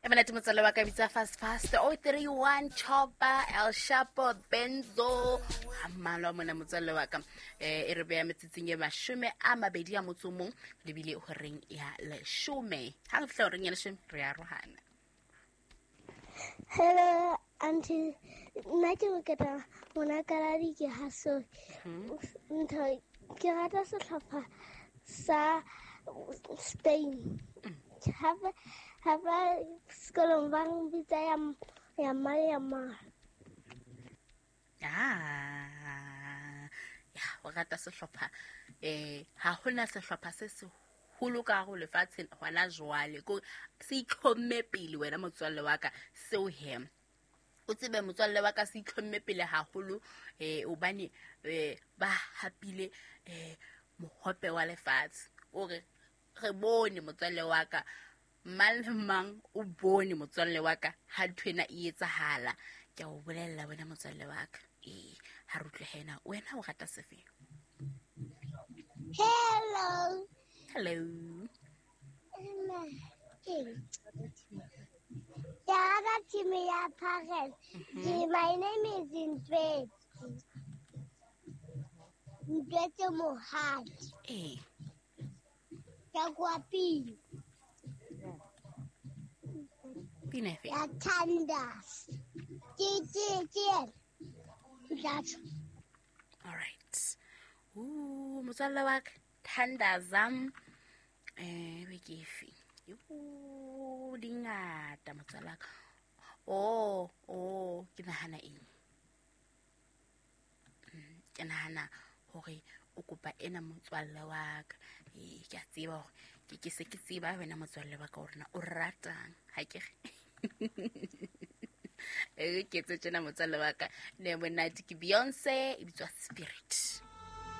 E monate motswalle wa ka, bitsa fast fast 031 Chopper El Shapo Benzo ga mmalwa mona motswalle wa ka. E re beya metsotsong e 21 lebile horeng ya 10. Ha re fihla horeng ya 10 re arohana. Hello, auntie. Nna ke Moketa Monakaladi ke haso. Ntho ke rata sehlopha sa Spain. Hape hape sekolong ba bitsa ya ya ma ya ma. Ah, ya o rata sehlopha ha hona sehlopha se seholo ka go lefatsheng hona jwale ko se itlhomme pele wena motswalle wa ka seo he o tsebe motswalle wa ka se itlhomme pele haholo hobane ba hapile mohope wa lefatshe. O re re bone motswalle wa ka, mang le mang o bone motswalle wa ka ha nthwena e etsahala. Ke a o bolella wena motswalle wa ka. Ha re utlwe hena wena o rata sefe? Hello. Hello. Ke rata team ya Pirates. My name is Ntwetsi. Ntwetsi Mohadi. Ke kwa pina. Pina efe? Ya Thandas. Ke ke ke. Tlatso. All right. Motswalle wa ka Thandazam be ke efe? Di ngata motswalle wa ka. Oh, ke nahana eng? Ke nahana hore o kopa ena motswalle wa ka. Ke a tseba hore ke se ke tseba wena motswalle wa ka hore na o ratang ha ke re. Ke etse tjena motswalle wa ka. Ne monate ke Beyonce e bitswa Spirit.